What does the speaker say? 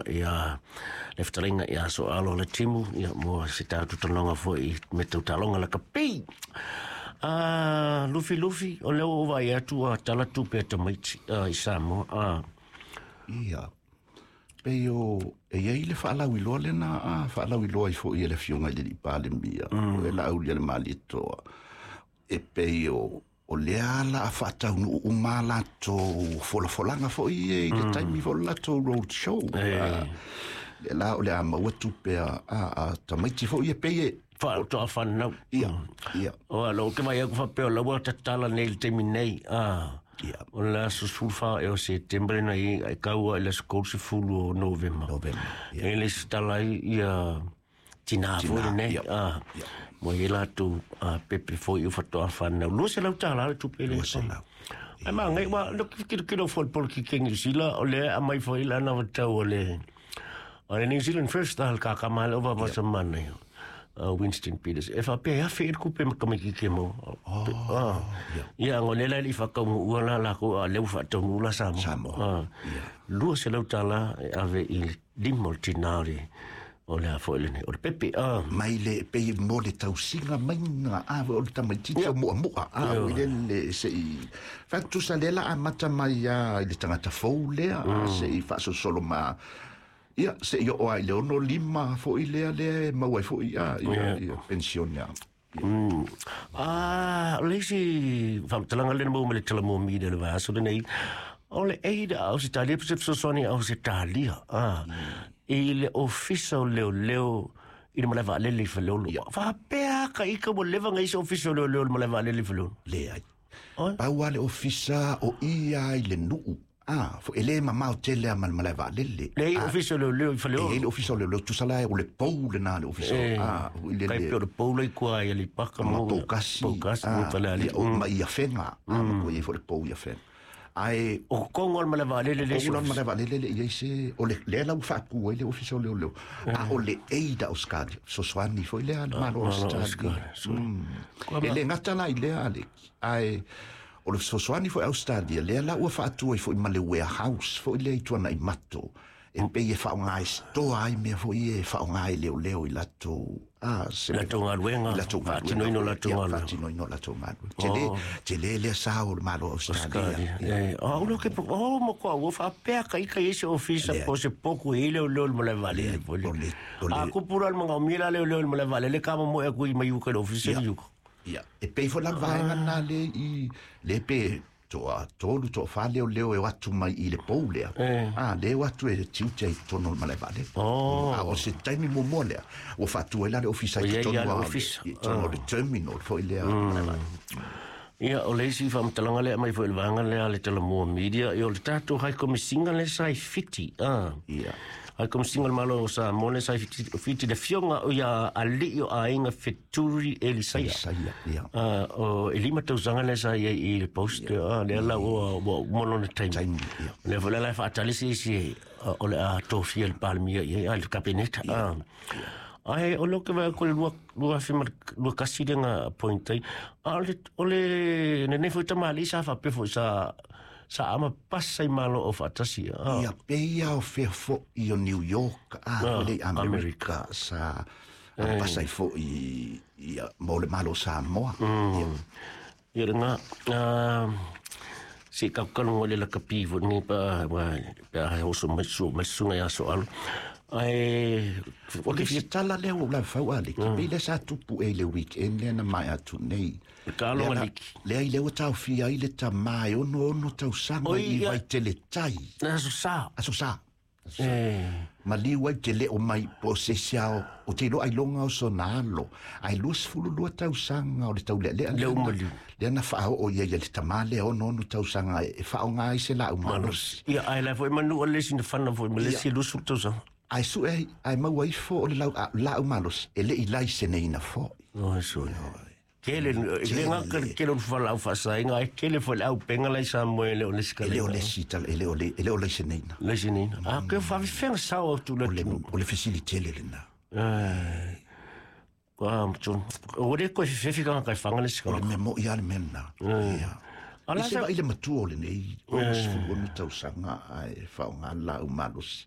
afioga ia le fetalaiga ia Soalo le Timu, ia mo se tatou talanoaga foi me tau taaloga lakapi. Ah, Lufi Lufi, o lea ua ou vaai atu ua tala tupe a tamaiti i Samoa. Ia, pei o e i ai le faalauiloa lena a faalauiloa ai foi e le Afioga i le Alii Palemia, o e Laaulialemalietoa, e pei o lea la a faataunuu uma latou folafolaga foi e i le taimi foi o le latou road show. Lea la o le a maua tupe a tamaiti foi e pei e faatoa fanau. Ia, ia. O a lou ke vai aku faapea o la ua tatala nei i le taimi nei. O le aso 14 ea o Setema na i ai kaua i le aso 30 o Novema. Novema, ia. E le isi tala ai ia tinā foi lenei. Mo i latou pepe foi o faatoa fanau. $200 le tupe le. 200. Ai ma ngai wa lo kilo kilo foi le polokiki New Zealand o lea aumai foi le anavatau o le o le New Zealand First al kaka ma le ova ma sa mana Winston Peters. E faapea e afe i le kupe ma tamaititi e maua. Ia, ngo le la i whakaungu ua la la ko a leu whaataunu la Samoa. Samoa. $200 e ave i le lima o le tinā o le o le a foi lenei, o le pepe. Mai le pei mo le tausiga maiga a o le tamaititi o muamua a o ile le se i fatusa le la amata mai a i le tagata fou lea se i faasolosolo ma ia se i oo ai le 65 foi lea lea e maua ai foi a ia ia pensione a. Ah, o le isi faamatalaga lea na maua mai le Talamua Media i le vaiaso lenei, o le aid a Ausetalia, pe se fesoasoani a Ausetalia, i le ofisa o leoleo i le malae vaalele i Faleolo. Faapea ka ika ua leva ona i ai se ofisa o leoleo i le malae vaalele i Faleolo? Leai. Pau lava le ofisa o i lava i le nuu. Ah, fo e le mamao tele a ma le malae vaalele. Le ai ofisa o leoleo i Faleolo. E i ai le ofisa o leoleo, tusa la o le pou lena le ofisa. Ah, i le kai pei o le pou la i kua i Aleipaka ma Poukasi. Poukasi, ma Falealili. Ia, ma i Afega. Ah, ma kua i ai foi le pou i Afega. Ae o totonu o le malae vaalele le isi. O le malae vaalele le i ai se o le lea la ua faatu ai le ofisa o leoleo. A o le aid a Australia, fesoasoani foi lea a le Malo o Australia. E le gata la i lea Aleki, ae o le fesoasoani foi a Australia, lea la ua faatu ai foi ma le warehouse foi lea i Tuanaimato, e pei e faaaoga e stoa ai mea foi ia e faaaoga e leoleo i latou se latou galuega, latou faatinoina o latou galuega, faatinoina o latou galuega. Tele, tele lea sa o le Malo o Australia. Oh, ulo ke oh mo ko ua faapea ka ika i se ofisa po se poku i leoleo le malae vaalele foi le. A kupu la le manaomia la leoleo le malae vaalele ka momoe aku i mai uka i le ofisa i uka. Ia, e pei foi la le vaega lena le i le pe toa tolu toa wha leo leo e o atu mai i le pou lea. A, le o atu e tiute ai totonu o le malae vaalele. A o se taimi muamua lea, ua faatu ai la le ofisa i totonu o le, i totonu o le terminal foi lea o le malae vaalele. Ia, o le isi faamatalaga lea aumai foi i le vaega lea a le Talamua Media, ia o le tatou High Commissioner lea sa i Fiti, a. Ia. High Commissioner o le Malo o Samoa lea sa i Fiti, Fiti le afioga o ia alii o aiga Feturi Elisaia. Elisaia, ia. O e 5 tausaga lea sa i ai i le post, lea la ua uma lona taimi. Taimi, ia. Lea foi la e faatali se isi o le a tofia le Palemia i ai, le Kapeneta. Ae o lea ou te vaai atu i le 2021 lea na appoint ai. A o le lenei foi tamalii sa faapea foi sa sa ama pasa i Malo Aufaatasi. Ia, pei lava o fea foi o New York, a, le Amerika, sa pasa ai foi ia, mo le Malo o Samoa. Ia lena, se i talu le lakapi foi lenei pa, pe a oso mai su mai susuga ia Soalo. Ae o le fia tala lea ua lau fau a leki, pei lea sa tupu e le weekend lea na mai atu nei. Ka aloga liki. Lea i lea ua taofia ai le tamā e 66 tausaga i Vaitele Tai. Aso Sa. Aso Sa. Maliu ai te leo mai po o se isi ao o te iloa ailoga o sona alo. Ae 22 tausaga o le taulealea lea na, lea na faaoo ia ia le tamā lea 66 tausaga e faaaoga ai se laau malosi. Ia, ae la foi manu o le isi na fana foi ma le isi 20 tausaga. Ae sue ai, ae maua ifo o le laau malosi e le i laiseneina foi. Oi, sue. Tele, le ngaka le tele o le falaau faasaina, ae tele foi le aupenga la i Samoa e le o le isi E le o le isi tala, e le o le, e le o laiseneina. Laiseneina. A ke faafefea sao atu le atunuu. O le fesili tele lena. Ua le toe fefefi tagata e fana le isi tagata. O le mea moi lava le mea lena. Ia. I se vaai le matua o lenei 66 tausaga ae faaaoga le laau malosi.